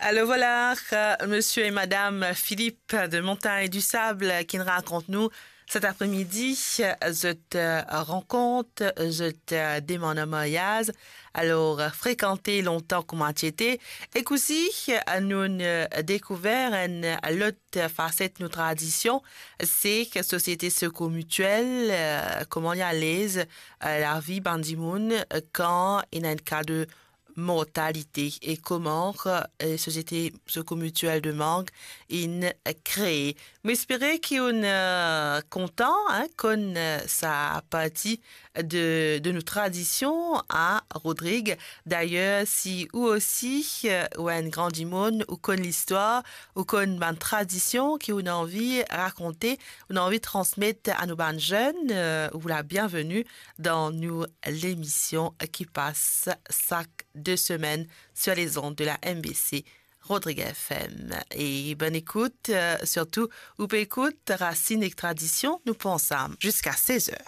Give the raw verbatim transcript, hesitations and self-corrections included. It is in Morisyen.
Alors voilà, euh, monsieur et madame Philippe de Montagne du Sable qui nous raconte nous cet après-midi, euh, zot, euh, rankont, zot, euh, demann an maryaz. Alors, euh, frekante lontan kouma ti ete. E osi, euh, nou, euh, dekouver enn lot faset nou tradision, se Sosiete Secours Mutuel, euh, kouma li alez, euh, lavi bann dimoun, euh, kan ena enn ka de mortalite e kouma, euh, Sosiete Secours Mutuel de Mang inn kree. Mo espere ki ou'nn, euh, kontan, hein, konn, euh, sa parti de, de nou tradision a Rodrig. Dayer, si ou osi, euh, ou enn gran dimoun, ou konn listwar, ou konn bann tradision ki ou'nn anvi rakonte, ou'nn anvi transmet a nou bann zenn, euh, ou la bienveni dan nou lemision ki pas sak de semenn sur les ondes de la M B C Rodrig F M. E bonn ekout, euh, sirtou, ou pe ekout Rasinn ek Tradision, nou pou ansam ziska sez er.